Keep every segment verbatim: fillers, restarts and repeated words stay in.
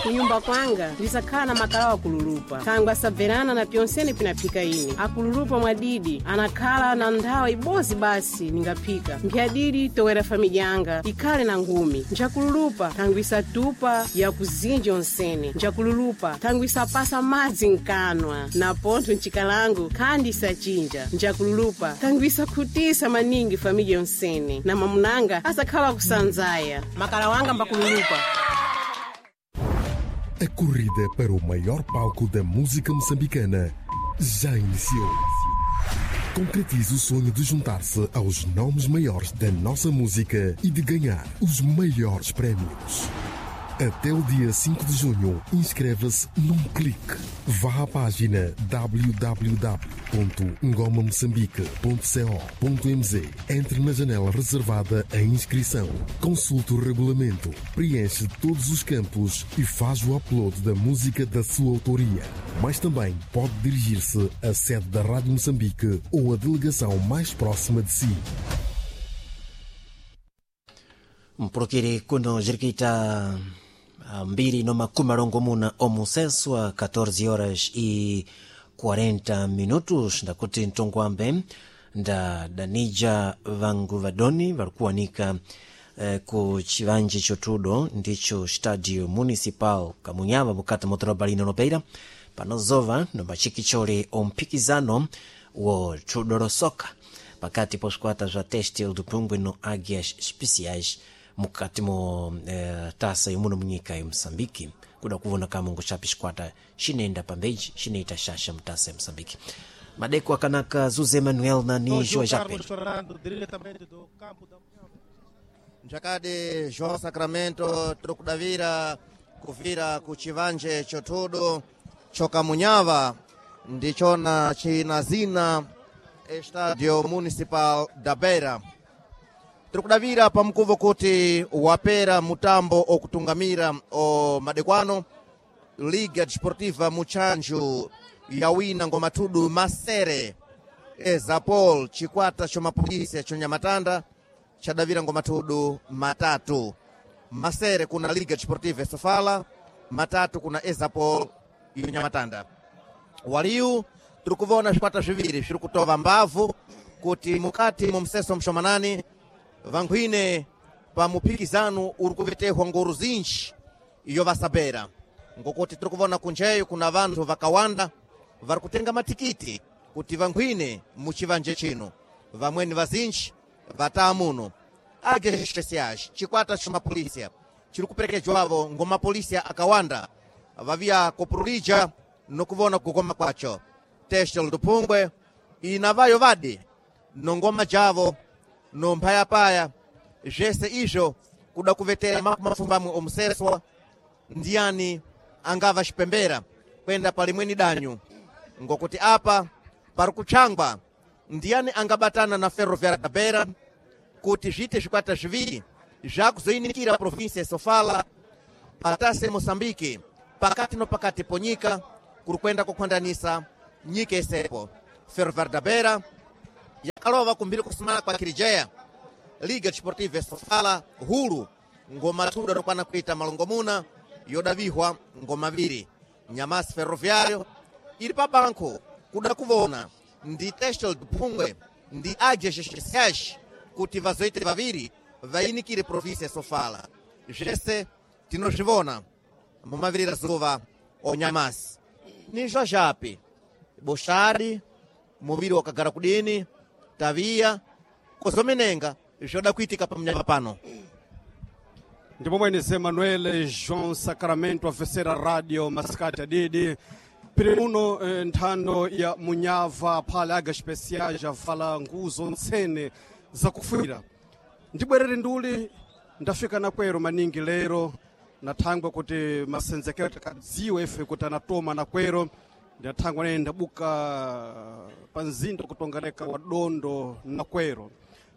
Kunyumba kwanga ndisakhala na makalawa akululupa thangwe asabverana na pyonsene pinaphika ine. Akululupa mwadidi anakhala na nthawi ibozi basi ningaphika mphyadidi towera famidya yanga ikhale na ngumi. Njakululupa thangwe isatupa yakuzinja onsene. Njakululupa thangwe isapasa madzi mkanwa na pontho mchikalango khandi isachinja. Njakululupa thangwe isakhutisa maningi famidya yonsene na mamunanga asakhala kusanzaya. Makala wanga mbakululupa. A corrida para o maior palco da música moçambicana já iniciou. Concretize o sonho de juntar-se aos nomes maiores da nossa música e de ganhar os maiores prémios. Até o dia cinco de junho, inscreva-se num clique. Vá à página w w w ponto ngomamoçambique ponto co ponto m z. Entre na janela reservada à inscrição. Consulte o regulamento, preenche todos os campos e faz o upload da música da sua autoria. Mas também pode dirigir-se à sede da Rádio Moçambique ou à delegação mais próxima de si. Mpulukiri kuno zirikuita ah, mbiri no makumi alongomuna omusenso a catorze horas e quarenta minutos. Ndakuti mtongwambe nda danija vangu vadoni varikuwanika eh, ku chivanje chotudo ndicho Stadio Municipal Kamunyava mukati mo doroba lino lopeira panozova nombachikichole omphikizano wo thudo losoka pakati po squata zwa Têxtil do Pungwe no Águias Especiais mukati mo eh, taça yomuno munyika ya Moçambique, kuda kuvona kamungu chapi xikwata xinenda pambeji xinaita xaxa mutasa ya Moçambique. Madeko akanaka Zuze Manuel na João Nijo Jape. Carlos Fernando, diretamente do campo da Njakadi João Sacramento, tiri kudavira kuvira ku chivanje chotudo chokamunyava, ndichona china zina Estadio Municipal da Beira. Tiri kudavira pamukuvo kuti wapera mutambo okutungamira o madekwano. Liga Desportiva Muchanju yawina ngomatudu masere. Ezapol, chikwata chomapolisi chonyamatanda, chadavira ngomatudu matatu. Masere kuna Liga Desportiva Sofala, matatu kuna Ezapol yonyamatanda. Waliu tiri kuvona zvikwata zviviri zviri kutova mbavu kuti mukati mu mseso mshomanani vankhwine pa muphikizano uri kuvetehwa ngoro zinji iyo vasabera, ngokuti tiri kuvona kunjeyo kuna vanthu vakawanda vari kutenga matikiti kuti vankhwine muchivanje chino. Vamweni vazinji vataa muno. Águias Especiais, chikwata cha mapolisia, chiri kuperekejwavo ngomapolisia akawanda vaviya kopurulija nokuvona kukoma kwacho. Têxtil do Pungwe ina vayo vadi nongoma javo nomphayapaya, zvese izvo kuda kuvetera mafumbamwe omuseswa ndiyani angava xipembera kwenda palimweni danyu, ngokuti apa pari kutshangwa ndiyani angabatana na Ferroviária da Beira kuti zviite zvikwata zviviri zvakuzoinikira província ya Sofala patase Moçambique pakati no pakati ponyika kuri kwenda kukhwandanisa nyika isepo. Ferroviária da Beira yakalova kumbiri kusumana kwa Kirijeya Liga Desportiva ya Sofala hulu ngoma thuda nokwana kuita malongomuna yodavihwa ngoma viri. Nyamasi Ferroviário iri pa banco kuda kuvona ndi Têxtil do Pungwe ndi Águias Especiais kuti vazoite vaviri vainikire província ya Sofala. Zvese tinozvivona mumavirira zuva onyamasi nizvo zvapi boshari muviri wakagara kudini taviya kozomenenga zvoda kuitika pamunyama pano. Ndipo mwene Emanuel João Sacramento afesera radio masikati adidi piri muno eh, nthando ya Munyava phale Águias Especiais avala nguzo ntsene zakufwira. Ndibwerere nduli ndafika nakwero maningi lero nathangwa kuti masenzekero takadziwa ife kuti anatoma nakwero. Ndathangwa nene ndabuka pa mzinda kutongaleka wa dondo nakwero.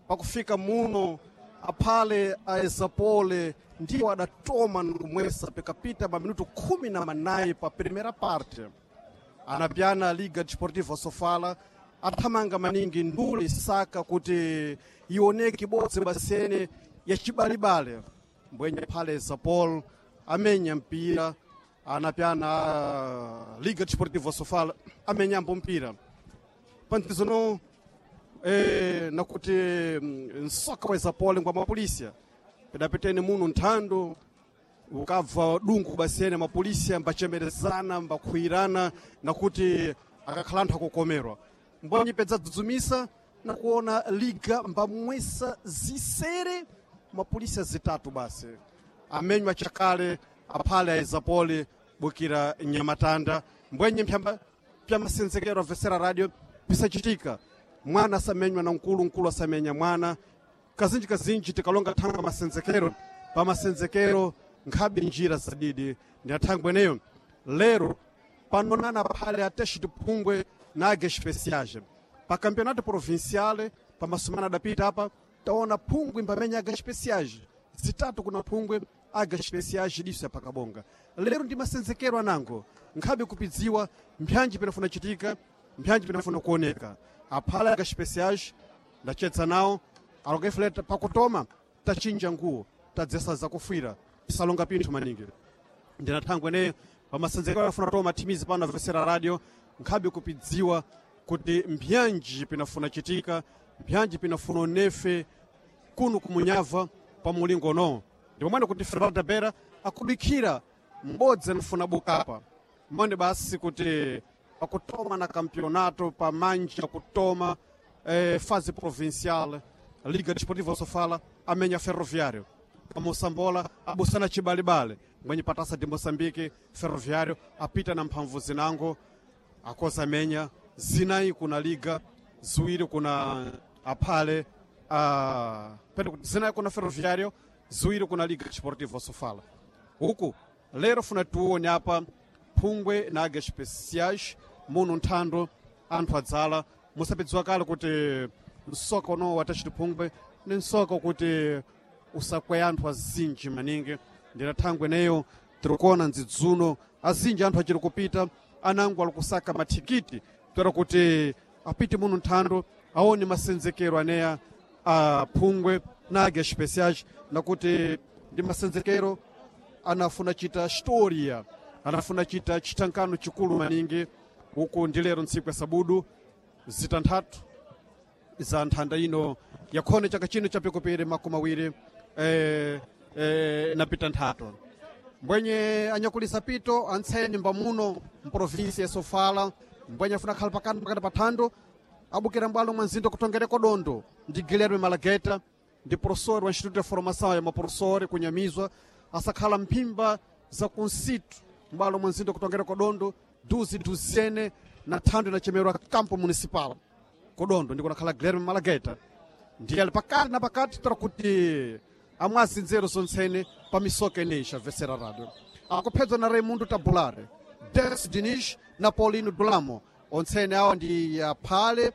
Pakufika muno aphale aezapole ndiwo adatoma nkumwesa pikapita maminuto khumi na manayi pa primeira parte. Anapyana Liga Desportiva Sofala athamanga maningi nduli saka kuti ioneke ibodzi basene ya chibalibale. Mbwenye phale Zapol amenya mpira. Anapyana Liga Desportiva Sofala amenyambo mpira pantizono eh, nakuti nsoka wa Izapole ngwa mapolisia pedapetene muno nthando ukabva dungu basiyene mapolisia mbachemerezana mbakhwirana nakuti akakhala anthu akukomerwa mbwanyi pedza dzudzumisa nakuona liga mbamwesa zisere mapolisia zitatu basi amenywa chakale aphale a Izapole bukira nyamatanda mbwenye mphyamba pyamasenzekero avesera radio pisachitika mwana asamenywa na mkulu mkulu asamenya mwana kazinji kazinji tikalonga thangwe masenzekero pamasenzekero nkhabe njira zadidi ndi athangwe eneyo lero panonana phale atexi tiphungwe na age especiais pa campeonato provincial pamasumana adapita apa taona phungwe mbamenya aga especiais zitatu kuna phungwe aga especiais diso yapakabonga lero ndi masenzekero anango nkhabe kupidziwa mpyanji pinafuna chitika mpyanji pinafuna kuoneka aphala aga especiais ndachetsa nawo alokefuleta pakutoma tachinja nguwo tadzesa zakufwira tisalonga pinthu maningi ndinathangwe eneyo pamasenzekero afuna toma thimizi pano avesera radio nkhabe kupidziwa kuti mbyanji pinafuna chitika mbyanji pinafuna onefe kuno kumunyava pa mulingo unowo ndipo mwene kuti Fernando Bera akudikhira m'bodzi anafuna bukapa mbone basi kuti pakutoma na campeonato pamanja kutoma eh, fase provincial Liga Desportiva Sofala amenya Ferroviário pamosambola abusana chibalibale mwenye patasa de Moçambique Ferroviário apita na mphamvu zinango akoza amenya zinayi kuna liga ziwiri kuna aphale uh, pete kuti zinayi kuna Ferroviário ziwiri kuna Liga Desportiva Sofala huku lero funa tione apa phungwe na aga especiais muno nthando anthu adzala musapidziwa kale kuti msoka unowo watachiti phungwe ni msoka kuti usakweya anthu azinji maningi ndinathangwe eneyo tirikuona ndzidzuno azinji anthu achiri kupita anango ali kusaka mathikiti toera kuti apite muno nthando aone masenzekero aneya a phungwe na aga especiais nakuti ndi masenzekero anafuna chita historia anafuna chita chitankano chikulu maningi uku ndi lero ntsiku ya sabudu zitanthatu za nthanda ino yakhone chaka chino chapikupiri makumi awiri eh, eh, napita nthatu mbwenye anyakulisa pito antseni mbamuno mprovinsi ya Sofala mbwenye afuna khala pakati pakati pa thando abukira mbwalo mwa mzinda kutongereko dondo ndi Guilherme Malageta ndi professor wa Instituto de Formação ya maprofessori kunyamizwa asakhala mphimba za kunsitu mbwalo mwa mzinda kutongereko dondo duzi duzene na thando inachemerwa campo municipal kodondo ndiko nakhala Guilherme Malageta ndiye ali pakati na pakati tora kuti amwazi nzeru zontsene pa misoka ineyi xavesera radio akuphedzwa na Raimundo Tabulare Des Diniz na Paulino Dulamo ontsene awa ndi aphale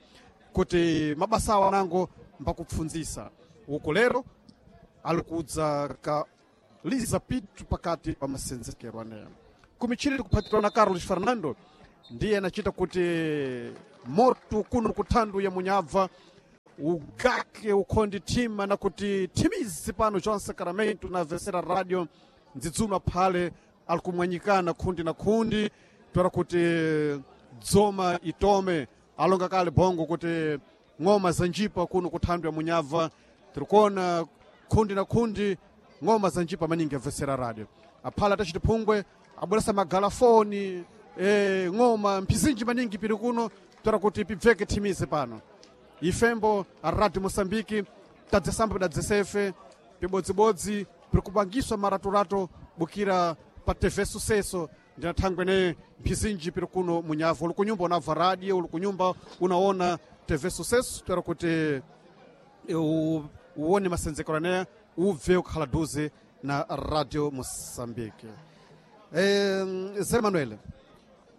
kuti mabasa awo anango mbakupfundzisa uku lero ali kudza ka liza pitu pakati pa masenzekero aneya kumichini tikuphatirwa na Carlos Fernando ndiye anachita kuti moto kuno kuthandu ya munyabva ugake ukhondi thima na kuti thimizi pano João Sacramento na vesera radio ndzidzuma phale ali kumwanyikana khundi na khundi toera kuti dzoma itome alonga kale bongo kuti ng'oma za njipa kuno kuthandu ya munyabva tirikuona khundi na khundi ng'oma za njipa maningi avesera radio aphala tachiti phungwe abweresa magalafoni e, ng'oma mphizinji maningi pili kuno toera kuti pibveke thimizi pano ifembo a radio moçambique tadzesambo pidadzesefe pibodzibodzi piri kupangiswa maraturato bukira pa tv sucesso ndinathangwe ne mphizinji piri kuno munyavu uli kunyumba unabva radio uli kunyumba unaona tv sucesso toera kuti u- uone masenzekero aneya ubve ukhala duze na radio moçambique e, zé manuel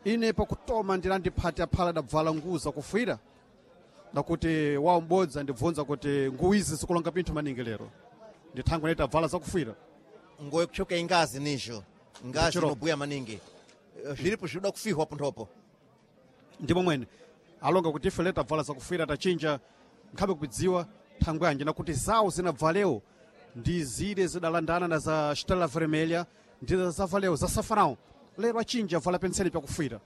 ine pakutoma ndinandiphati aphala dabvala nguza kufwira ndakuti wawo m'bodzi andibvunza kuti nguwu izi zikulonga pinthu maningi lero ndithangwe naita bvala zakufwira ngoyo kuchoka ingazi nijo ngazi Chiroko. inobuya maningi Eh, zviripo zvinoda kufihwa ponthopo ndipo mwene alonga kuti ife leta bvala zakufwira tachinja nkhabe kudziwa thangwe anje nakuti zawo zinabvalewo ndi zile zidalandana na za Stella Vermelha ndi zavaleo za Safarão Lero achinji avala penseli pyakufira.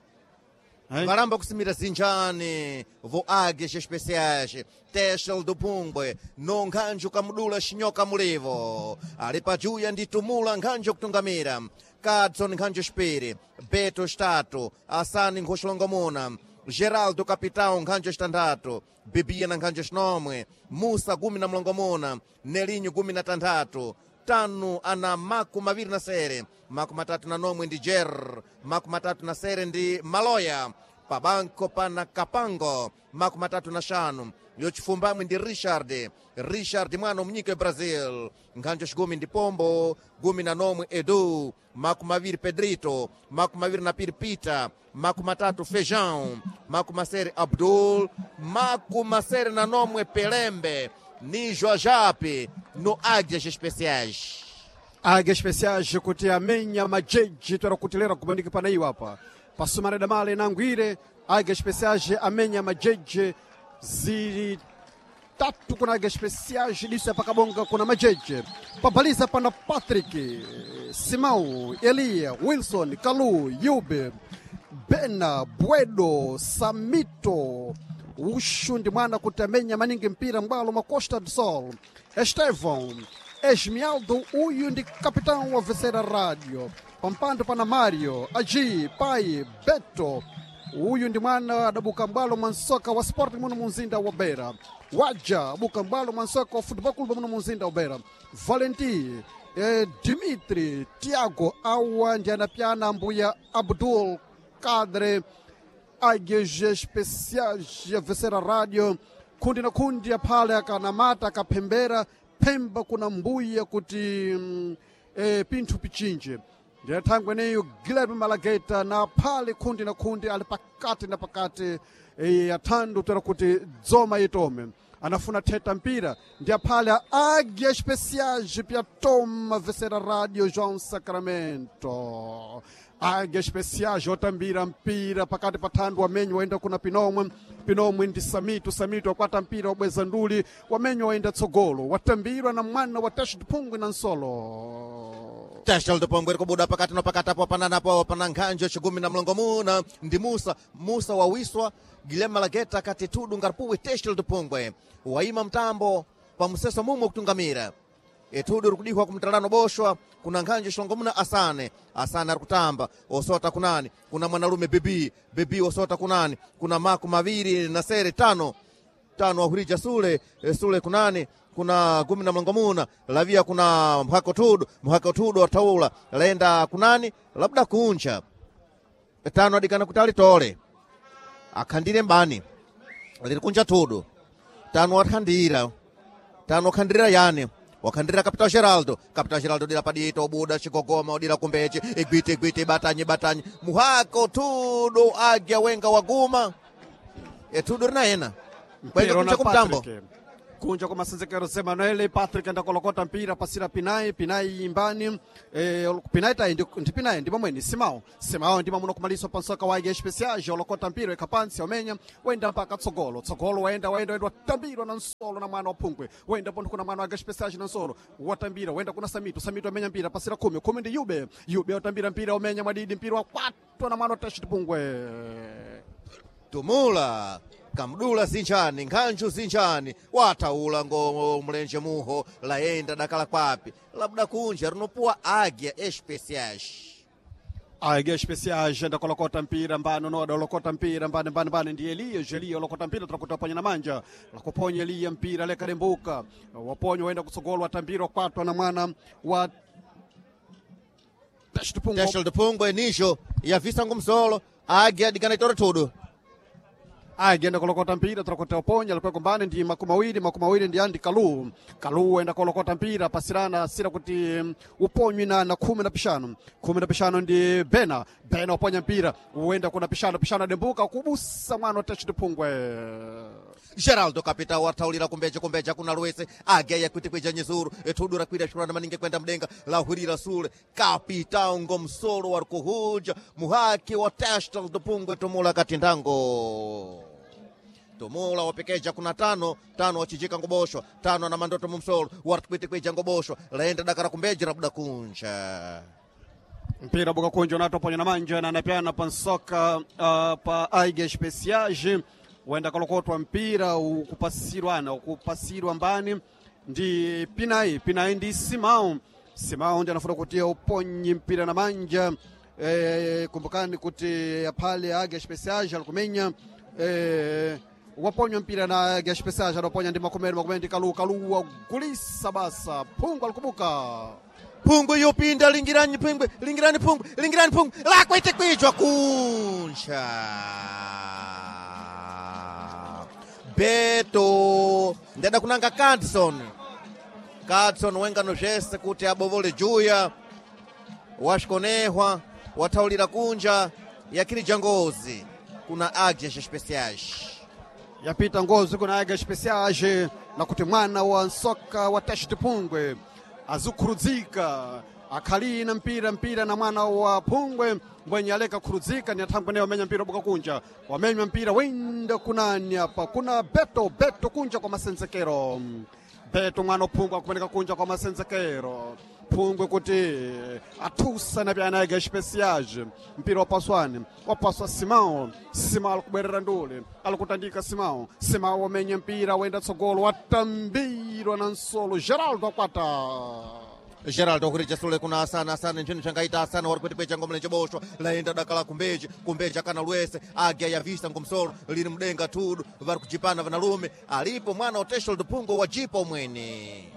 Eh? Varamba kusimira zinjani vo águias especiais Testel do Pungwe no nkhanjo kamudula xinyoka mulivo ali pajuya ndi tumula nkhanjo kutungamira Kadson nkhanjo xipiri Beto xitatu Asani nkhoxilongomuna Geraldo Capitão nkhanjo xitandatu Bibia na nkhanjo xinomwe Musa gumi na mlongomuna Nelinho gumi na tanthatu tanu ana maku maviri na sere maku matatu na nomwe ndi jer maku matatu na sere ndi maloya pabanko pana kapango maku matatu na xanu yochifumbamwe ndi richard richard mwana umunyika wa brazil nkhanjo xigumi ndi pombo gumi na nomwe edu maku maviri pedrito maku maviri na piri pita maku matatu feijão maku masere abdul maku masere na nomwe pelembe ni Joajape no Águias Especiais. Águias Especiais kuti amenya majeji twera kutilera kubandika pana iwo apa pasumana damale nangwire Águias Especiais amenya majeji zili tatu kuna Águias Especiais lisa pakabonga kuna majeje pabaliza pana Patrick Simão Elia Wilson Kalu Yube Bena Bwedo Samito uxu ndi mwana kuti amenya maningi mpira mbwalo mwa Costa do Sol Estevão Esmialdo uyu ndi capitão wa Vecera Radio pampando pana Mario Agi Pai Beto uyu ndi mwana adabuka mbwalo mwa nsoka wa Sporting muno mu mzinda wa Beira waja abuka mbwalo mwa nsoka wa Football Club muno mu mzinda wa Beira Valentin eh, Dimitri Tiago awa ndi anapyana mbuya Abdul Kadre Águias Especiais ya Vecera Radio kundi na kundi aphale akanamata akaphembera phemba kuna mbuya kuti mm, eh, pinthu pichinje ndiye thangwe eneyo Guilherme Malageta na aphale kundi na kundi ali pakati na pakati eh, athandu tera kuti dzoma itome anafuna theta mpira ndi aphale a Águias Especiais pyatoma Vecera Radio João Sacramento Águias Especiais otambira mpira pakati pa thandu wamenyo waenda kuna pinomwe pinomwe ndi samito samito wakwata mpira wabweza nduli wamenyo waenda tsogolo watambirwa na mwana wa Tash Phungwe na Nsolo Testel do Pongwe kubuda pakati na pakati apo pananapo pana nkhanjo chigumi na mlongomuna ndi Musa Musa wawiswa Guilherme Malageta kati tudu ngaripuwe Testel do Pongwe waima mtambo pamuseso mumwe kutungamira etudu rikudihwa kumtalano boshwa kuna nkhanjo xilongomuna asane asane ari kutamba osota kunani kuna mwanalume bibi bibi osota kunani kuna maku maviri na sere tano tano wahurija sule eh, sule kunani kuna gumi na mlongomuna lavia kuna mhako tudu mhako tudu wataula laenda kunani labda kuncha tano adikana kuti alitole akhandire mbani liri kunja tudu tano wakhandira tano wakhandira yani wakhandira Capitão Geraldo Capitão Geraldo dira padito obuda chigogoma odira kumbeche igwite igwite batanye batanye muhako tudu agya wenga waguma etudu rinaena kwenda Mpira kunja na kumtambo Patrick. Kunja kwa masenzekero Semanuel Patrick ndakolokota mpira pasira Pinai Pinai imbani eh, Pinai tai ndi ndi Pinai ndi pamweni Simao Simao ndi mamuno kumaliso pansoka wa Águias Especiais olokota mpira ekapansi omenya wenda mpaka tsogolo tsogolo waenda waenda waenda watambirwa na Nsolo na mwana wa Phungwe wenda pontho kuna mwana wa Águias Especiais na Nsolo watambira wenda kuna Samito Samito amenya mpira pasira kumi kumi ndi Yube Yube watambira mpira omenya mwadidi mpira wakwatwa na mwana wa Tash Phungwe tumula kamdula zinjani nkhanju zinjani wataula ngo mlenje muho laenda dakala kwapi labda kunja rinopuwa Águia Especiais Águias Especiais ndakolokota mpira mbano noda olokota mpira mbane mbane mbane ndi Elias Elias olokota mpira turakuta ponya na manja lakuponya Eliya mpira lekadembuka waponya waenda kutsogolo watambira wakwatwa na mwana wa Tashtupungo Testel do Pungwe nisho yavisa ngumsolo Águia dikana itore tudu agenda kolokota mpira turakuta uponya alikuwa mbane ndi makumi mawiri makumi mawiri ndi andi kalu kalu enda kolokota mpira pasirana sira kuti mm, uponywi na, na khumi na pishanu khumi na pishanu ndi bena bena uponya mpira uenda kuna pishano pishano adembuka kubusa mwana wa Tashtupungo Geraldo Capitão wataulira kumbeja kumbeja kuna lwese Águia yakwitikwija nyizuru etudu rakwira shurana maningi kwenda mdenga lahurira sule Capitão ngomsolo wari kuhuja muhaki wa Testel do Pungwe tumula katindango tumula wapekeja kuna tano tano wachijika ngoboshwa tano na mandoto mumsolo wari kwitikwija ngoboshwa laenda dakara kumbeja rabuda kunja Mpira buka kunja unatoponya na manja na anapeana pansoka uh, pa Águia Especiais wenda kalokotwa mpira ukupasirwana ukupasirwa mbani ndi Pinai. Pinai ndi Simão. Simão ndi anafuna kuti uponye mpira na manja. E, kumbukani kuti aphale Águia Especiais alikumenya e, waponywa mpira na Águia Especiais adaponya ndi makomero makomero ndi Kalu. Kalu wagulisa basa phungu alikubuka Phungwe yopinda lingirani phungwe lingirani phungwe lingirani phungwe lakwete kwijwa kunja Beto ndada kunanga Cadson. Cadson wengano zvese kuti abovole juya washikonehwa wathaulira kunja yakhirija ngozi kuna Águias Especiais. Yapita ngozi kuna Águias Especiais na kuti mwana wa nsoka wa Teste Phungwe azikhurudzika akhali na mpira mpira na mwana wa Phungwe mbwenye aleka khurudzika ni athangwe naye wamenya mpira buka kunja wamenywa mpira wenda kunani apa kuna Beto. Beto kunja kwa masenzekero. Beto mwana Phungwe akumeneka kunja kwa masenzekero. Phungwe kuti athusa na pyana Águia Especiais mpira wapaswani wapaswa Simão. Simão alikubwerera ndule alikutandika Simão. Simão wamenya mpira wenda tsogolo watambirwa na nsolo Geraldo akwata. Geraldo kurija sule kuna Asana. Asana nchini changaita Asana wari kuti kwecha ngomlenje boshwa laenda dakala kumbeji kumbeji akana lwese Águia yavisa ngomsolo lili mdenga tudu vari kujipana vanalume alipo mwana oteshol dupungo wajipa umwene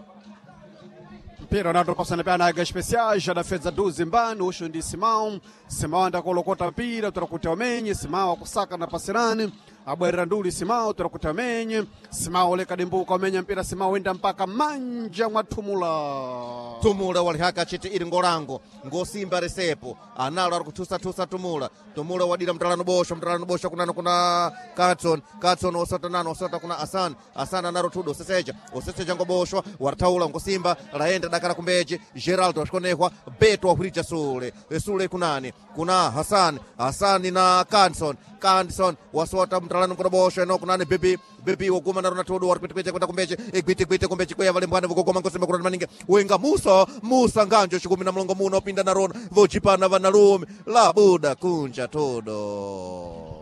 Mpira unatopasana pyana Águia Especiais adafedza duzi mbani usho ndi Simão. Simão andakolokota mpira tora kuti amenye. Simão akusaka na pasirani abwerera nduli Simão tora kuti amenye. Simão oleka dimbuka amenya mpira Simão wenda mpaka manja mwa Thumula. Tumula walihaka chiti ili ngolango ngosimba resepo analo ari kuthusathusa Tumula. Tumula wadira mtalano bosho mtalano bosho kunano kuna Katson. Katson osota nano osota kuna Asan. Asan anaro tudo oseseja oseseja ngoboshwa warthaula ngosimba laenda dakala kumbeji Geraldo ashikonehwa Beto wahwirija sule sule kunani kuna Hasan. Hasani na Katson. Katson wasota mtalano ngoboshwa eno kunani bibi bibi woguma naro natudu wari kwete kwenda kumbeji igwite gwite kumbeji kweya valembwana vokogoma ngosimba kurani maningi wenga Musa Musa nganjo chikumi na mlongo muno opinda narona vochipana vanalume labuda kunja todo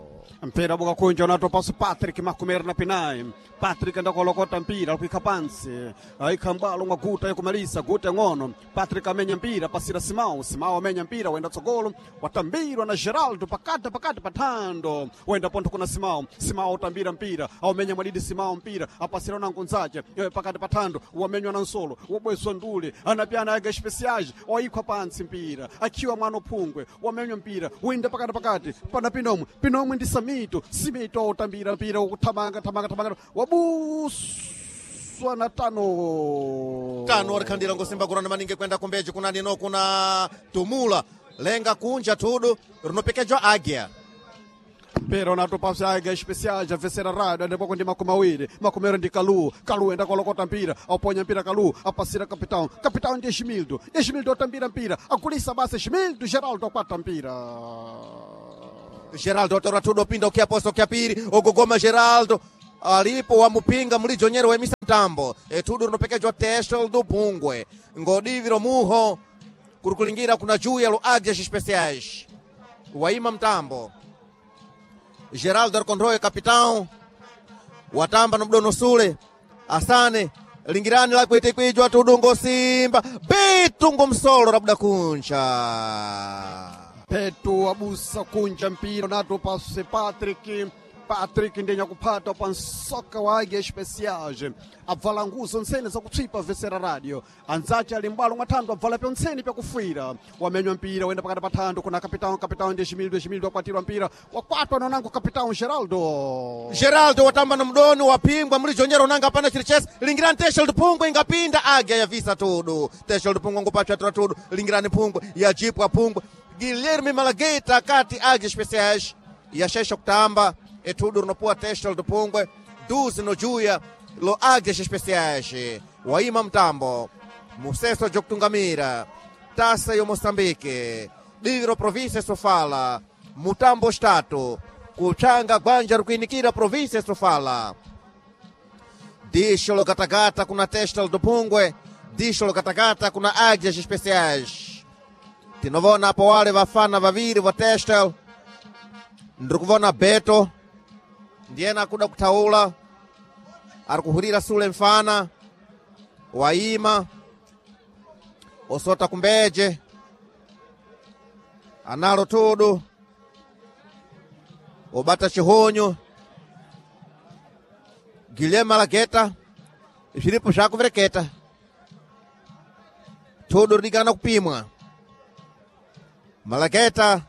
Mpira buka kunja unatopaso Patrick makumeri na Pinai. Patrick ndakolokota mpira alikuika pansi aika mbalo mwa guta yakumalisa guta ng'ono. Patrick amenya mpira pasira Simão. Simão amenya mpira wenda tsogolo watambirwa na Geraldo pakati pakati pathando wenda pontho kuna Simão. Simão utambira mpira aumenya mwadidi Simão mpira apasira na nkunzache pakati pathando wamenywa na nsolo wabwezwa ndule anapyana Águia Especiais oikhwa pansi mpira akiwa mwana Phungwe wamenywa mpira wenda pakati pakati pana Pinomwe. Pinomwe ndi Samito. Simito utambira mpira ukuthamanga thamanga thamanga wabuswa na tano tano warikhandira ngosimba kurana maningi kwenda kumbeji kunani no kuna Tumula lenga kunja tudu rinopekejwa Águia. Mpira unatopasa Águia Especiais a vencer a rádio ndipoko ndi makumi awiri makumero ndi Kalu. Kalu enda kolokota mpira auponya mpira Kalu apasira capitão. Capitão ndi Esmildo. Esmildo atambira mpira agulisa basa Esmildo. Geraldo akwata mpira. Geraldo atora tudo opinda ukiaposa ukiapiri ogogoma Geraldo alipo wamupinga mulijonyero wemisa mtambo etudu rinopekejwa Testel do Pungwe ngodiviro muho kuri kulingira kuna juya lo Águias Especiais waima mtambo Geraldo arikondroe capitão watamba no mdono sule Asane lingirani lakwete kwijwa tudungo simba bitungo msolo rabuda kuncha Petu abusa kunja mpira nato pase Patrick. Patrick ndenya kuphata pa nsoka wa Águia Especiais abvala nguzo ntsene zakutswipa vesera radio anzace ali mbwalo mwa thando abvala pyontsene pyakufuira wamenywa mpira wenda pakati pa thando kuna capitão. Capitão ndi Esmildo. Esmildo akwatirwa mpira wakwatwa nonango capitão Geraldo. Geraldo watamba na mdoni wapingwa mulijonyero nanga pana chiri chese lingirani Testel Pungwe ingapinda Águia yavisa tudu Testel Pungwe ngopachwa tura tudu lingirani Pungwe yajipwa Pungwe Guilherme Malagueta kati Águia Especiais yashesha kutamba etudu rinopuwa Testel Pungwe duzi no juya lo Águias Especiais waima mtambo museso jokutungamira tasa yo Moçambique diviro província Sofala mutambo estatu kuchanga gwanja rikuinikira província Sofala Dixo logatagata kuna Testel do Pungwe, Dixo logatagata kuna Águias Especiais. Tinovona apo wale vafana vaviri va Testel, ndiri kuvona Beto ndiyena akuda kuthaula, ari kuhurira sule mfana waima osota kumbeje analo tudu obata chihonyo Guilherme Malageta zviripo zvakuvereketa tudu ridikana kupimwa. Malageta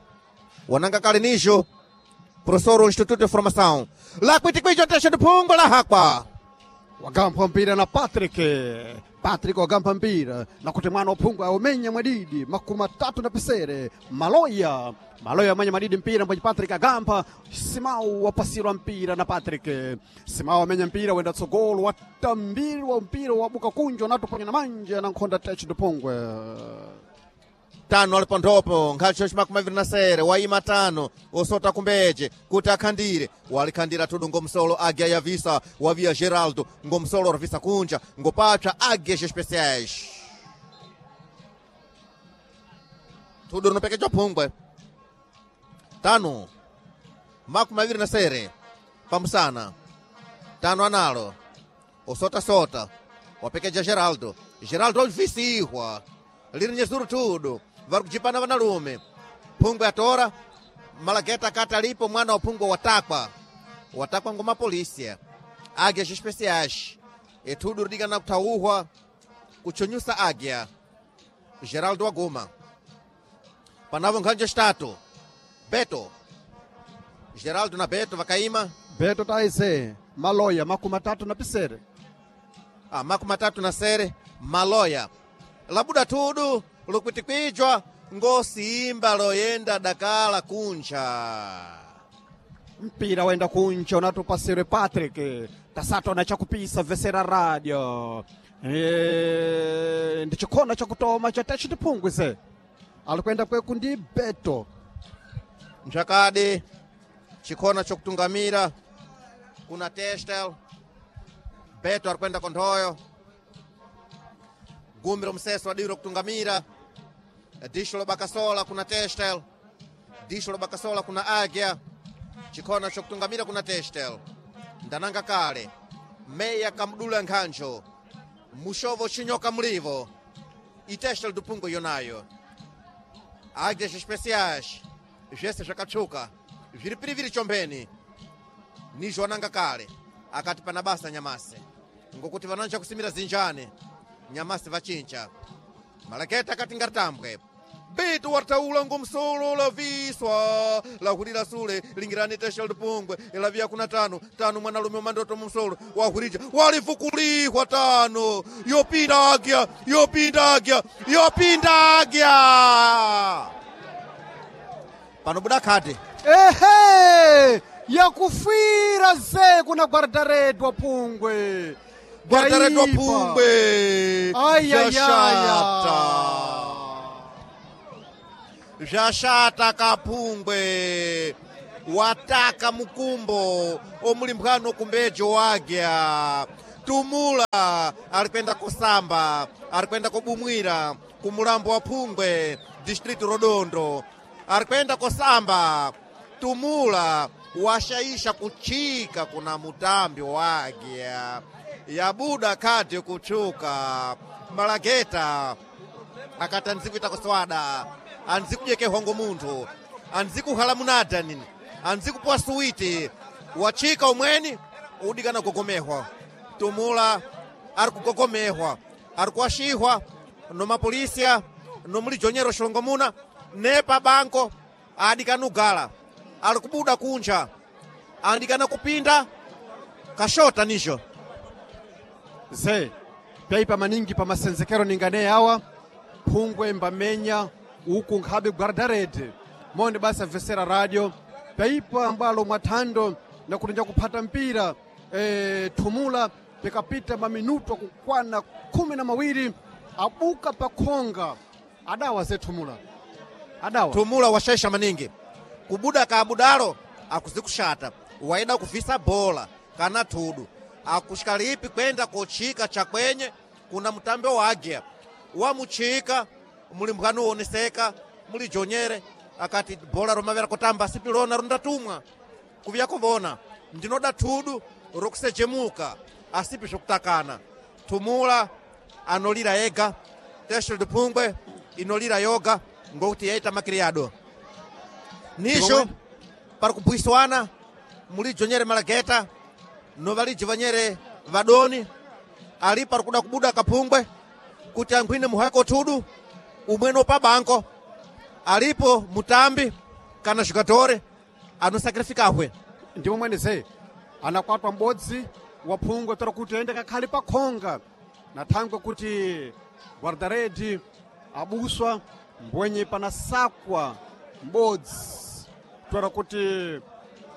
wananga kale nijo professor do Instituto de Formação lá kuitikwijo tesha do pungo la hakwa Wagampha mpira na Patrick. Patrick wagampha mpira na kuti mwana uphungwa aumenya mwadidi makumi matatu na pisere maloya maloya amenya madidi mpira mbwenye Patrick agampha Simau wapasirwa mpira na Patrick. Simau amenya mpira wenda tsogolo watambirwa mpira wabuka kunjwa natuponya na manja na nkhonda techo ndipungwe tano alipo nthopo nkhacho chimakumi aviri na sere waima tano osota kumbeje kuti akhandire walikhandira tudu ngomsolo agya yavisa wavia Geraldo ngomsolo ravisa kunja ngopapsa águias especiais tudu rinopekejwa phungwe tano makumi aviri na sere pamusana tano analo osotasota wapekeja Geraldo. Geraldo alivisihwa liri nyezuru tudu vari kujipana vanalume phungwe atora Malageta akati alipo mwana wa phungwe watakwa watakwa ngoma polisia águias especiais etudu ridikana kuthauhwa kuchunyusa águia. Geraldo waguma panavo nkhanje xitatu Beto Geraldo na Beto vakaima Beto taise maloya makumi matatu na pisere ah, makumi matatu na sere maloya labuda tudu lukwitikwicwa ngosimba loyenda dakala kunja mpira wenda kunja unatupasirwe Patrick tasatona chakupisa vesera radio e, ndi chikhona chakutoma cha techo tiphungwise alikwenda kweku ndi Beto mchakadi chikhona chokutungamira kuna Testel Beto arikwenda konthoyo gumbi lomseso adiro kutungamira disho lobakasola kuna Testel disho lobakasola kuna Águia chikhona chokutungamira kuna Testel ndananga kale meya kamdula nkhanjo mushovo chinyoka mlivo itestel dupungo yonayo águias especiais zvese zvakatsuka zviri piriviri chombeni nizvo ananga kale akati pana basa nyamase ngokuti vananja kusimira zinjane nyamase vachincha Malaketa akati ngaritambwe Beto wataula ngomsolo laviswa lahurira sule lingirani tesha lipungwe ilavia kuna tano tano mwanalume mandoto mumsolo wahurija walifukulihwa tano yopinda agya yopinda agya yopinda agya panobuda khate ehe yakufira ze kuna guardaredwa pungwe guardaredwa Yaipa. pungwe Ai, ai, ai, Zvashata. Zvashata kapungwe wataka mukumbo omulimphwano kumbejo wagya tumula ari kwenda kusamba ari kwenda kubumwira kumulambo wa phungwe district rodondo ari kwenda kusamba tumula washaisha kuchika kuna mutambi wagya yabuda khadi kutchuka Malageta akati anzikuita kuswada anzikudyeke hongo munthu anzikuhala munada nini anzikupuwa suwiti wachika umweni udikana kugogomehwa tumula ari kugogomehwa ari kuwashihwa nomapolisiya nomulijonyero xilongomuna nepa banko adikana ugala ari kubuda kunja andikana kupinda kashota nijo ze pyaipa maningi pa masenzekero ningane awa phungwe mbamenya uku nkhabe guardarede monde basi vesera radio pyaipa ambalo mwathando na kuti njakuphata mpira e, thumula pikapita maminuto akukwana khumi na mawiri abuka pakhonga adawa ze thumula adawa tumula washaisha maningi kubuda kaabudalo akuzikushata waida kuvisa bola kana thudu akushikalipi kwenda kochika chakwenye kuna mutambi wa agya wamuchika mulimphwanu uwoneseka Mulijonyere akati bhola romavera kutamba sipilona rundatumwa kuviya kuvona ndinoda thudu rokusechemuka asipi zvokutakana. Thumula anolira ega, Teixeira de Pungwe inolira yoga ngokuti yaita makiriyado nisho pari kubhuiswana mulijonyere malageta novaliji vanyere vadoni ali pari kuda kubuda kaphungwe kuti ankhwine muhako thudu umweno pabanko alipo mutambi kana jogadore anosacrificahwe. Ndimo mwene ze anakwatwa m'bodzi wa phungwe tora kuti aende kakhale pakhonga na thangwe kuti guardaredi abuswa mbwenye panasakwa m'bodzi tora kuti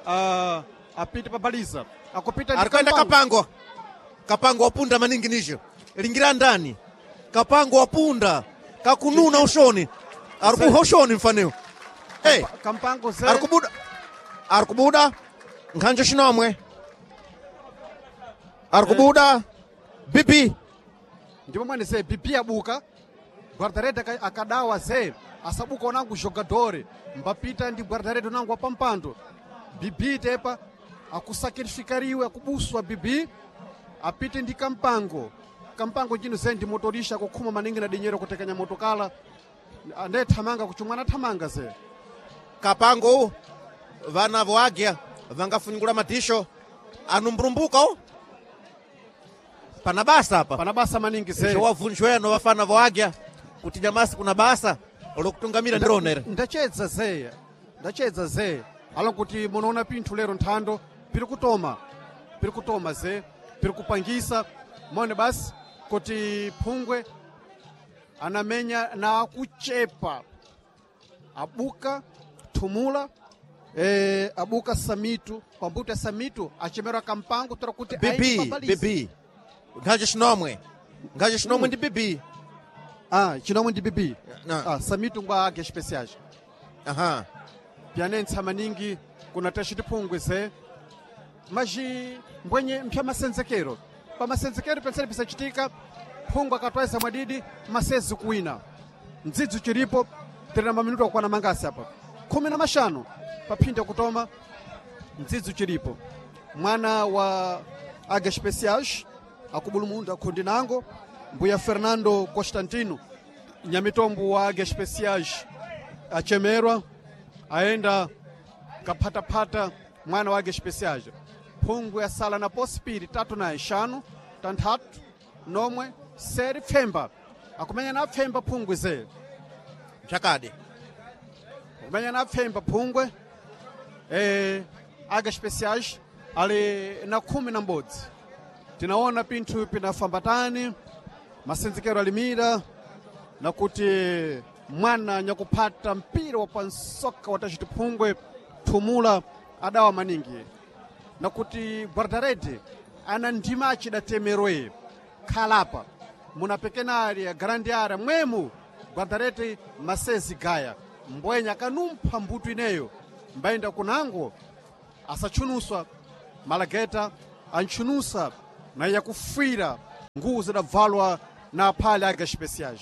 uh, apite pabaliza akupita ndi Ari kuenda Kampango. Kapango. Kapango wapunda maningi nisho lingira ndani Kapango wapunda kakununa ushoni ari kuha ushoni mfaneo. Hey, Kampango ze ari kubuda ari kubuda nkhanjo xinomwe ari kubuda bibi. Ndimo mwene ze bibi abuka guardaredi aka- akadawa ze asabuka onangu jogadore mbapita ndi guardaredi onangu wapampando bibi tepa akusacrificariwe akubuswa bibi apite ndi Kampango. Kampango njino ze ndi motorisha akukhuma maningi na dinyero kutekanya motokala ande thamanga kuchumwana thamanga ze. Kapango vana voagya vangafunyungula madisho anumburumbuka u pana basa apa. Pana basa maningi ze. Wavunjweno vafana voagya kuti nyamasi kuna basa lokutungamira ndironere. Ndachedza zeya ndachedza ze ala kuti munoona pinthu lero nthando piri kutoma piri kutoma ze piri kupangisa mone basi kuti phungwe anamenya na akuchepa abuka thumula eh, abuka samitu pambuto ya samitu achemerwa Kampango tora kuti aende Bibi. pabaliza. Bibi nkhanjo xinomwe nkhanjo xinomwe ndi bibi. Ah, chinomwe ndi bibi. Na. Ah, samitu ngwa ake especiais Aha. pyanentsa maningi kuna tachitiphungwe ze maji mbwenye mpya masenzekero pa masenzekero pensene pisachitika phungwe akatwaisa mwadidi masezi kuwina mdzidzi chilipo tiri na maminuto akukwana mangasi apa khumi na maxanu paphinda kutoma mdzidzi chilipo mwana wa aga speciais akubulumunda khundi nango mbuya Fernando Constantino nyamitombo wa aga speciais achemerwa aenda kaphatapata mwana wake speciais phungwe asala na posipiri tatu na ixanu tanthatu nomwe seri pfemba akumenya na pfemba phungwe ze. Mchakadi. Akumenya na pfemba phungwe eh, aga speciais ali na khumi na mbodzi tinaona pinthu pinafambatani masenzekero alimira na kuti mwana nyakuphata mpira wa pansoka wa tachitiphungwe thumula adawa maningi na kuti guardarede ana ndima acidatemerwe khalapa muna pequena área grande área mwemu guardarede masezi gaya mbwenya akanumpha mbuto ineyo mbayenda kunango asatchunuswa malageta antchunusa na yakufira nguwu zidabvalwa na aphale aga especiais.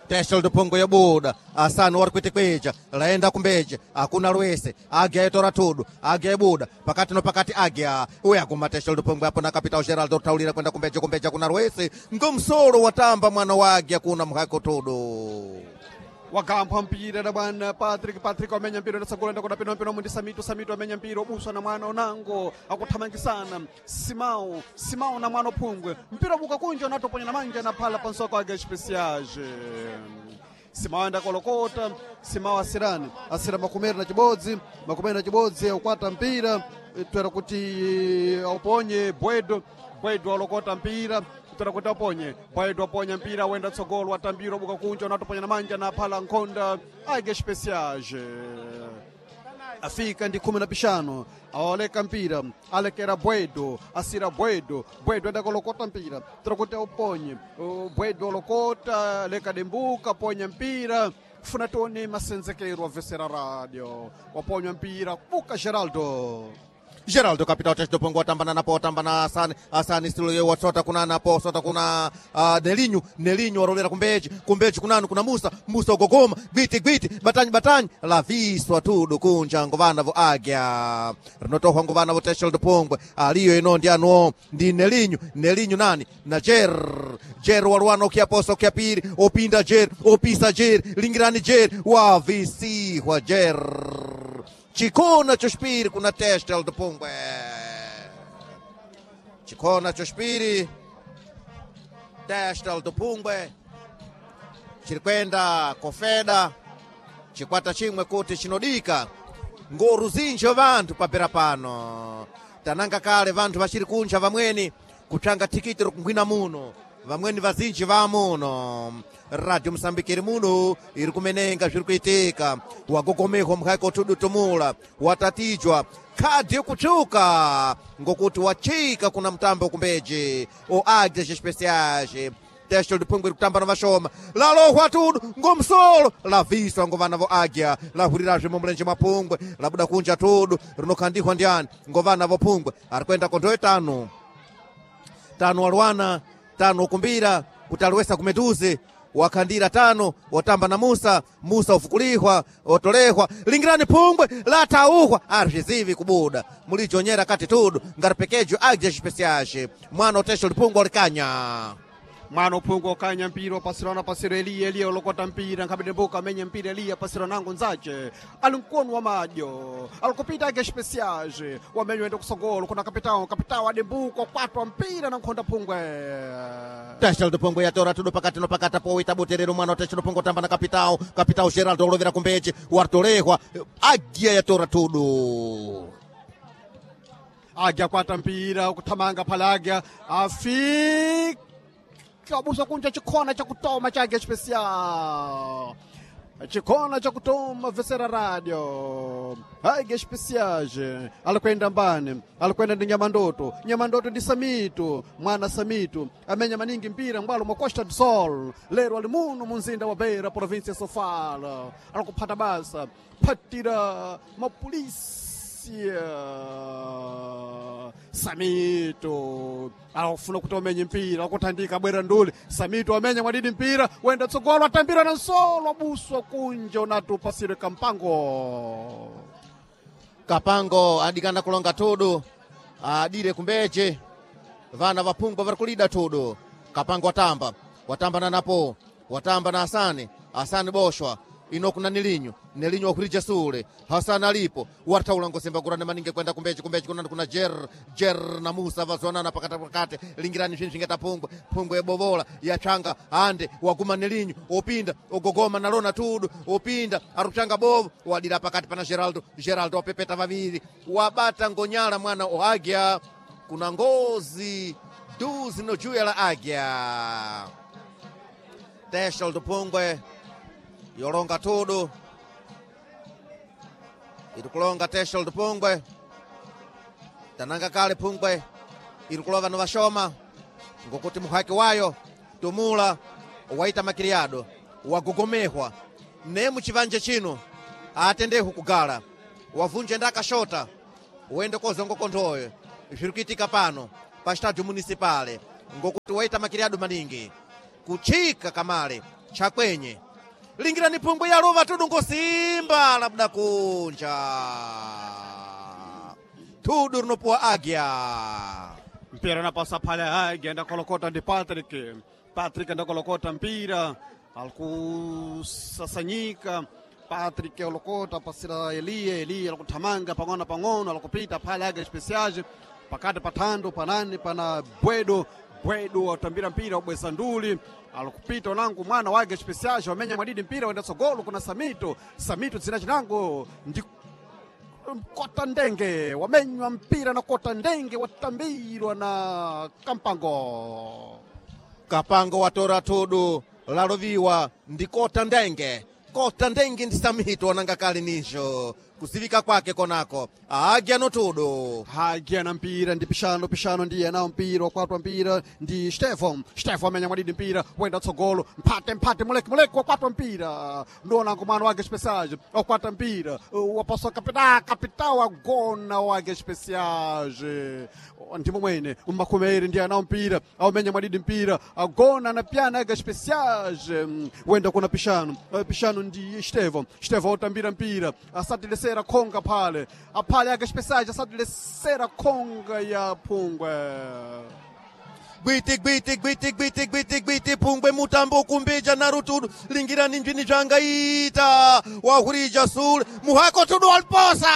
Teixeira do Pongo yabuda asanu wari kuitikweja laenda kumbeje akuna lwese agya itora tudu agya ibuda pakati no pakati agya uya kuma Teixeira do Pongo apo na Capital Geraldo taulira kwenda kumbeje kumbeje kuna lwese ngomsolo watamba mwana wa agya kuna mhako tudu. Wagampha mpira na bwana Patrick. Patrick amenya mpira ndasagula ndakona pino pino mundi Samito. Samito amenya mpira obuswa na mwana onango akuthamangisana Simao. Simao na mwana ophungwe mpira buka kunja natoponya na manja na phala pansoko ake especiais Simao enda kolokota Simao asirani asira makumeri na chibodzi makumeri na chibodzi aukwata mpira twera kuti auponye Bwedo. Bwedo alokota mpira tora kuti aponye Bwedo aponya mpira wenda tsogolo atambira obuka kunja unatoponya na manja na phala nkhonda age especiais afika ndi khumi na pixano awaleka mpira alekera Bwedo asira Bwedo. Bwedo enda kolokota mpira tora kuti auponye Uh, Bwedo olokota leka dembuka ponya mpira funa tione masenzekero avesera radio waponywa mpira buka Geraldo. Geraldo capitão teste do Pongo watamba napo watamba na Asani Asani stilo wasota kuna napo sota kuna uh, Nelinho Nelinho warolera kumbeji kumbeji kunanu kuna Musa Musa ugogoma gwiti gwiti batanyi batanyi laviswa tudu kunja ngovana vo agya rinotohwa ngovana vo teste do Pongwe aliyo ino ndi anuo ndi Nelinho Nelinho nani na Jer Jer waruana ukiaposa ukiapiri opinda Jer opisa Jer lingirani Jer wavisihwa Jer chikona choxipiri kuna teste do Pongwe chikona choxipiri teste do Pungwe chiri kwenda kofeda chikwata chimwe kuti chinodika ngoruzinji vanthu papera pano tananga kale vanthu vachiri kunja vamweni kutsvanga tikiti rokungwina muno vamweni vazinji vamuno radio Mosambiki iri muno iri kumenenga zviri kuitika wagogomehwa mukhaiko tudutumula watatijwa khadi yokutsvuka ngokuti wachika kuna mutambo kumbeji o águias especiais teste liphungwe kutamba na vashoma lalohwa tudu ngomsolo laviswa ngovana vo águia lahurirazve mumulenje mwa phungwe labuda kunja tudu rinokhandihwa ndiani ngovana vo phungwe ari kuenda konthoyo tanu tano walwana tano ukumbira kuti aliwesa kumetuze wakhandira tano watamba na Musa Musa ufukulihwa otolehwa lingirani phungwe latauhwa arizvizivi kubuda mulijonyera kati tudu ngaripekejo águias especiais mwana otesha liphungwe olikanya mwana uphungu okanya mpira opasirana pasiro eliya eliya olokota mpira nkhabede mbuka amenye mpira eliya pasiro nango nzace ali mkono wa madyo alikupita ake especiage wamenye wende kusogolo kuna kapitao kapitao adembuka kwatwa mpira na nkhonda phungwe Teste do Pongo yatora tudo pakati no pakati powita buterero mwana teste do Pongo tamba na capitão capitão Geraldo olovera kumbeche wartolehwa águia yatora tudo agya kwata mpira kuthamanga phala agya afika busa kunja chikhona chakutoma cha águia especial chikhona chakutoma vesera radio águia especiage alikwenda mbani alikwenda ndi nyamandoto nyamandoto ndi samito mwana samito amenya maningi mpira mbwalo mwa costa do sol lero ali muno munzinda wa beira província ya sofala alikuphata basa phatira mapolisi Samito akufuna kuti amenye mpira akuthandika abwera nduli Samito amenya mwadidi mpira wenda tsogolo atambira na nsolo abuswa kunja unati upasire kampango Kapango adikana kulonga tudu adire kumbeche vana vaphungwa vari kulida tudu Kapango watamba watamba na napo watamba na Asani Asani boshwa ino kuna Nelinho Nelinho wakurija sule Hasani alipo wataula ngosemba kurana maninge kwenda kumbechi kumbechi kuna kuna Jer Jer na Musa vazonana pakati pakati lingirani zvinzvingeta phungwe phungwe yebovola yachanga ande waguma Nelinho opinda ogogoma nalona tudu opinda aruchanga bovo wadira pakati pana Geraldo Geraldo wapepeta vaviri wabata ngonyala mwana oagya kuna ngozi duzi no juya la águia teste do Pungwe yolonga tudu irikulonga teste do Pungwe tananga kale Pungwe irikulova novashoma ngokuti muhaki wayo tumula waita makiriado wagogomehwa ne muchivanje chino atendehu kugala wavunje ndakashota uende kozongo konthoyo zviri kuitika pano pa estádio municipale ngokuti waita makiriado maningi kuchika kamale chakwenye lingirani phungwe yaluva tudu ngosimba labuda kunja tudu rinopuwa águia mpira napasa pale agya ndakolokota ndi Patrick Patrick ndakolokota mpira alikusasanyika Patrick olokota pasira Eliya Eliya alikuthamanga pang'ono pang'ono alikupita pale águia especiage pakati pathando panani pana bwedo bwedo watambira mpira wabweza nduli alikupita unangu mwana wa águia especiage wamenya mwadidi mpira wenda tsogolo kuna Samito Samito dzina chinango ndi kota ndenge wamenywa mpira na kota ndenge watambirwa na kampango Kapango watora tudu laloviwa ndi kota ndenge Kota ndengi ndi samito wananga kali nisho kuzivika kwake konako agya notudo Águia na mpira ndi pixano pixano ndiye nawo mpira wakwatwa mpira ndi Stefan Stefan amenya mwadidi mpira wenda tsogolo mphate mphate muleki muleki wakwatwa mpira ndionango mwana wake especiais wakwata mpira wapaswa kapita kapitao wagona wake especiais ndimo mwene mmakhumeri ndiye nawo mpira aumenya mwadidi mpira agona na pyana ake especiais wenda kuna pixano pixano ndi Stefan Stefan utambira mpira asatilesera khonga phale aphale ake especiais asatilesera khonga ya phungwe Gwiti gwiti gwiti gwiti gwiti gwiti pungwe mutambo kumbija na rutudu lingirani njini zvangaita wahurija sule muhako tudu waliposa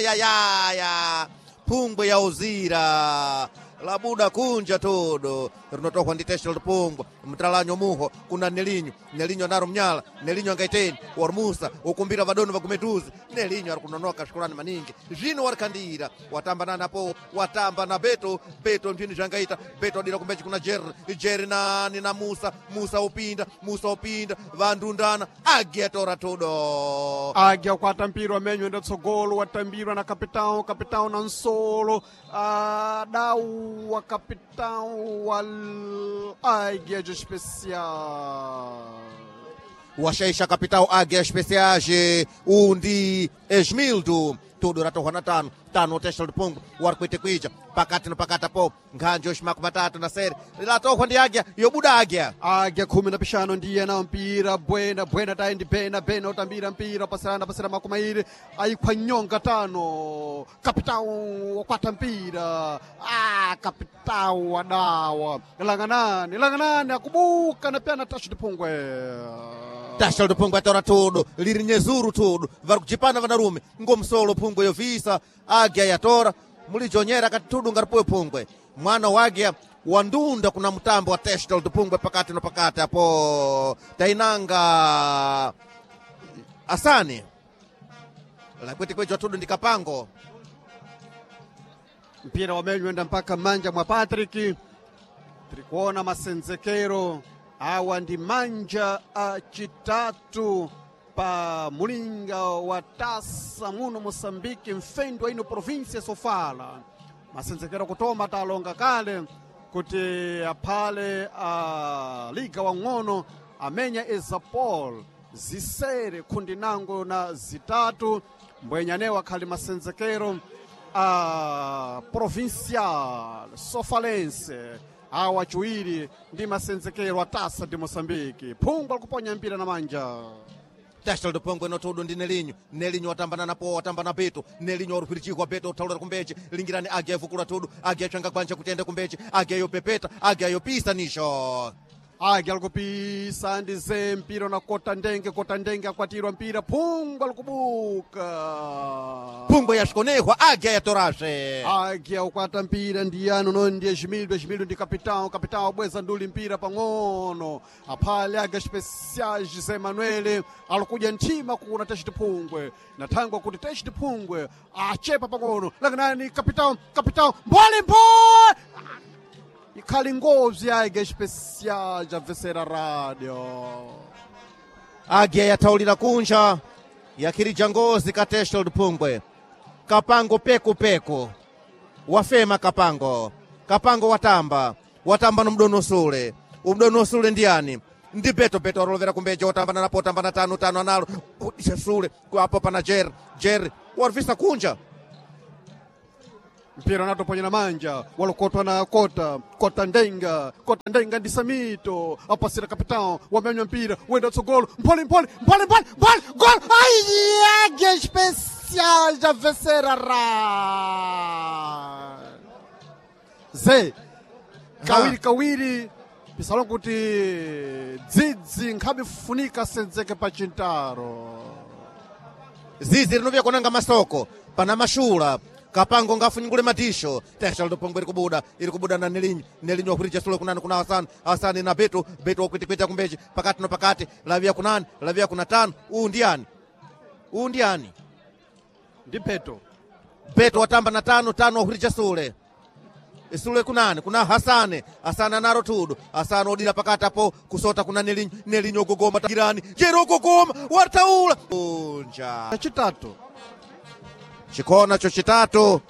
yayaya pungwe yauzira labuda kunja todo rinotohwa ndi teshel pungwe mtalanyo muho kuna nelinyo nelinyo naro mnyala nelinyo angaiteni warumusa ukumbira vadoni vagumetuzi nelinyo ari kunonoka svikulani maningi zvino warikandira watamba nanapo watamba na beto beto ndini zvangaita beto adira kumbechi kuna jerry jerry nani na musa musa upinda musa upinda vandundana agetora todo Águia kwata mpira wamenywa enda tsogolo watambirwa na capitão capitão na nsolo adau wa capitão wa Águia de Especial washaisha kapitao águia especiais undi esmildo tudo ratohwa na tano tano testa lupungu wari kuite kuija pakati no pakati apo nkhanji yoximaku matatu na sere latohwa ndi águia yobuda águia Águia khumi na pixano ndiye na mpira bwena bwena tayi ndi bena bena utambira mpira pasirana pasira makumairi ayikhwa nyonga tano kapitão wakwata mpira ah kapitão wadawa langanani langanani akubuka na pyana taxi tiphungwe tasha lupungu atora tudo liri nyezuru tudo vari kuchipana vanarume ngomsolo phungwe yovisa águia yatora mulijonyera kati tudo ngaripuwe phungwe mwana wa águia wandunda kuna mutambo wa testa lutupungwe pakati no pakati apo tainanga asani lakwitikwejwa tudu ndi kapango mpira wamenywenda mpaka manja mwa Patrick tirikuona masenzekero awa ndi manja achitatu pa mulinga wa tasa muno Moçambique mfendo ino província Sofala masenzekero kutoma talonga kale kuti aphale a liga wang'ono amenya Ezapol zisere khundi nango na zitatu mbwenyanewo akhali masenzekero a provincial sofalense awa chiwiri ndi masenzekero a tasa de Moçambique phungwa likuponya mpira na manja tasta lutupungwe no tudu ndi nelinyo nelinyo watambana napo watambana beto nelinyo waruphirichikwa beto uthaulira kumbeche lingirani águia yovukula tudu águia yatsvanga gwanja kuti ende kumbeche águia yopepeta águia yopisa nisho Águia likupisa ndi ze mpira na kota ndenge kota ndenge akwatirwa mpira phungwa likubuka phungwe yasvikonehwa águia yatorasve Águia ukwata mpira ndiyano no ndiye Jimildo Jimildo ndi capitão capitão abweza nduli mpira pang'ono aphale Águia Especiais José Manuel alikuja nthima kuna teste phungwe nathangwa kuti teste phungwe achepa pang'ono lakanani capitão capitão mbole mbole ikhali ngozi ya Águia Especiais abvesera rádio águia yathaulira kunja yakhirija ngozi ka testa lutupungwe kapango pekupeku wafema kapango kapango watamba watamba no sule umdono sule ndiyani ndi beto beto arolovera kumbeja watamba nanapo watamba na tano tano analo udisha sule apo pana jerry jerry warivisa kunja mpira unatoponya na manja walokotwa na kota kota ndenga kota ndenga ndi samito apasira capitão wamenywa mpira wenda tsogolo mphole mphole mphole mphole mphole gol ai Águia Especial já vencerá ze kawiri kawiri pisalo kuti dzidzi nkhabe funika senzeke pa chintaro zizi rinovya konanga masoko pana mashula kapango ngafunyungule matisho tesha lidopongwe iri kubuda iri kubuda na nelinyo nelinyo wakurija sule kunani kuna asani asani na beto beto wakwitikwita kumbechi pakati no pakati lavia kunani lavia kuna tano uu ndiyani uu ndiyani ndi peto beto watamba na tano tano wakurija sule Isule kunani kuna Hasane Hasane anaro tudu Hasane odira pakati apo kusota kuna Nelinyo Nelinyo gogoma girani Jero gogoma wataula unja Chitatu chikona cho chitatu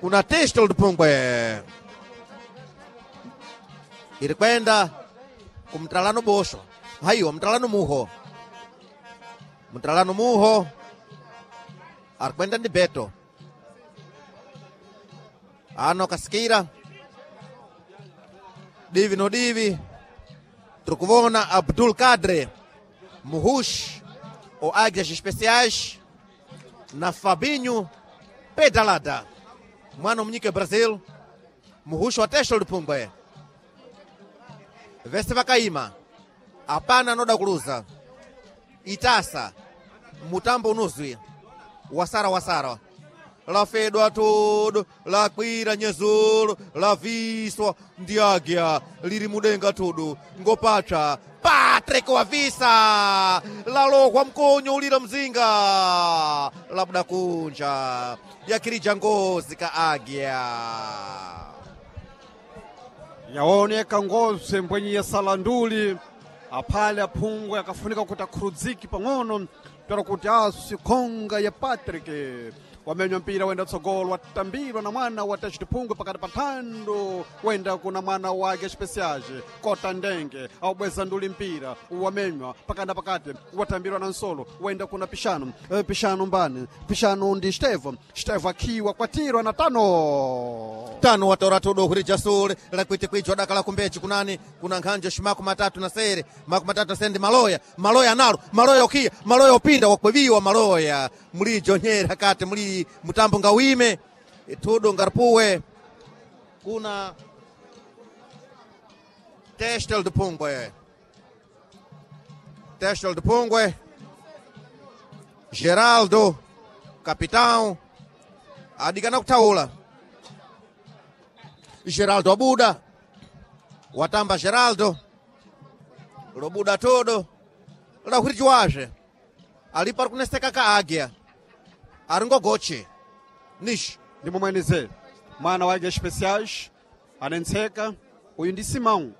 kuna Testol Pungwe iri kwenda kumtalano bosho haiwa mtalano muho mtalano muho ari kwenda ndi Beto ano kasikira divi no divi tiri kuvona Abdul Kadre Muhush o Águias Especiais na Fabinho Pedalada mwana munyike Brazil muhushi wa Testol Pungwe vese vakaima apana anoda kuluza itasa mutambo unozwi wasara wasara lafedwa todo lakwira nyezolo laviswa ndi agya liri mudenga todo ngopatsa Patrick wavisa lalokwa mkonyo ulira mzinga labuda kunja yakirija ngozi ka agya Yaoneka ngozi mbwenye yasalanduli aphale aphungwe akafunika kuti akhurudziki pang'ono tera kuti asikhonga ya Patrick wamenywa mpira wenda tsogolo watambirwa na mwana wa Tachitiphungwe pakati pa thando wenda kuna mwana wake Especiais kota ndenge aubweza nduli mpira wamenywa pakati na pakati watambirwa na nsolo wenda kuna pishano Eh, pishano mbani pishano ndi Stevo Stevo akiwa kwatirwa na tano tano watora todo hurija sule lakwiti kwijo dakala kumbechi kunani kuna nkhanjo shimaku matatu na sere maku matatu na sere ndi maloya maloya analo maloya okiya maloya opinda wakweviwa maloya mulijo nyera kati muli mutambo ngawime tudo ngaripuwe kuna Testel de Pungwe Testel de Pungwe Geraldo capitão adikana kuthaula Geraldo abuda watamba Geraldo lobuda todo lahurijiwazve alipo ari kuneseka ka agya ari ngogoche nish ndi momwenize mwana wa Águias Especiais anentseka uyu ndi Simão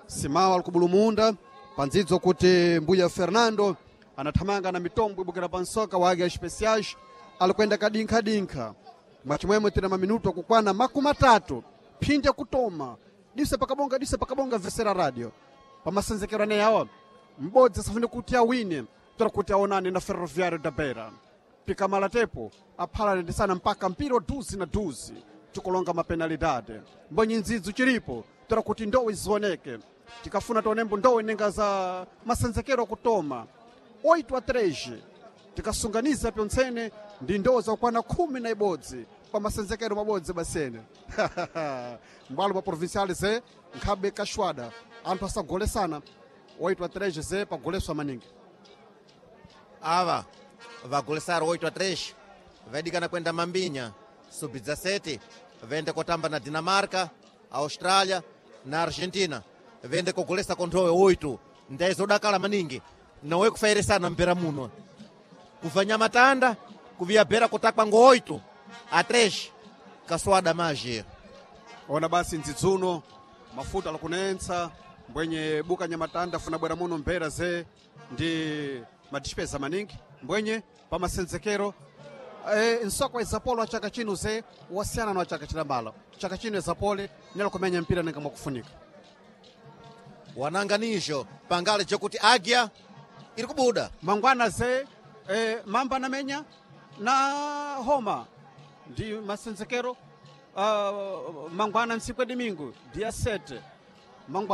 Simão ali kubulumunda pandzidzo kuti mbuya Fernando anathamanga na mitombo ibukira pa nsoka wa Águias Especiais ali kuyenda kadinkha-dinkha mwachimwemwe tina maminuto akukwana makumi atatu phinja kutoma dise pakabonga dise pakabonga vesera radio pamasenzekero ane awa m'bodzi asafune kuti awine tora kuti aonane na Ferroviário da Beira pikamala tepo aphalanendesana mpaka mpira wa duzi na duzi tikulonga mapenalidade mbonyi ndzidzu chilipo tora kuti ndowe zioneke tikafuna tionembo ndowe nenga za masenzekero akutoma oito a três tikasunganiza pyontsene ndi ndowe zakukwana khumi na ibodzi pa masenzekero mabodzi basene mbwalo pa provincial ze nkhabe kaxwada anthu asagolesana oito a três ze pagoleswa maningi ava vagolesaro oito a três vaidikana kwenda mambinya sub dezessete vende kotamba na Dinamarca Austrália na Argentina vende kogolesa konthowe oito ndaizodakala maningi nawe kufairisana mpera muno kubva nyamatanda kuviya bhera kutakwa ngo oito a três kaswada maji ona basi ndzidzuno mafuta alakunentsa mbwenye buka nyamatanda funa bwera muno mbera ze ndi madispesa maningi mbwenye pamasenzekero e, nsoko izapolo wa chaka chino ze wasiyana na wa chaka chilambala chaka chino izapole nyala kumenya mpira nenga mwakufunika wananganisho pangale chokuti agya iri kubuda mangwana ze e, mamba namenya na homa ndi masenzekero uh, mangwana ntsiku ya domingo dia sete mangwana